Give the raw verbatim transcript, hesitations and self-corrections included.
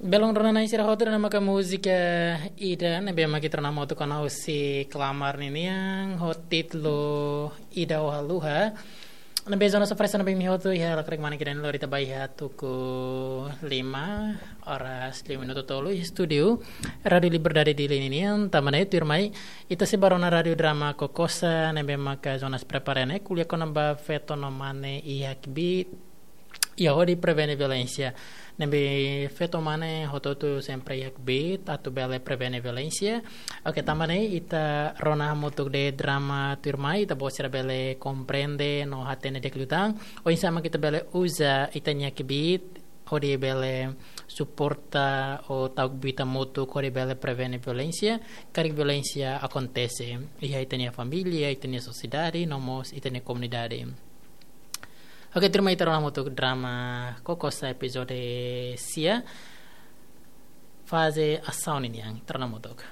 Belun rona-na'in sira hotu, ida-ne'e maka múzika ida ne'ebé mak ita rona hamutuk ona husi Klamar ninian ho títulu Ida Ho Haluha. Ne'ebé Jonas oferese ona ba imi hotu iha lakrek manik ida-ne'e, lori ita ba iha tuku lima oras liu minutu tolu iha estúdiu Rádiu Liberdade Dili ninian. Tanba ne'e tuirmai ita sei ba rona Rádio Drama Kokosa ne'ebé maka Jonas prepara ne'e, ko'alia kona-ba feto no mane iha kbiit, iha hodi prevene violénsia. Ne'ebé feto mane hotu-hotu sempre iha kbiit atu bele prevene violénsia. Oke, tanba ne'e ita rona hamutuk de'it drama tuirmai, ita-boot sira bele komprende no hatene di'ak liután oinsá mak ita bele uza ita-nia kbiit hodi bele suporta ou tau kbiit hamutuk hodi bele prevene violénsia, karik violénsia akontese iha ita-nia família, ita-nia sosiedade, no mós ita-nia komunidade. Oke, tuirmai ita rona hamutuk drama Kokosa epizode sia, faze asaun ninian, ita rona hamutuk.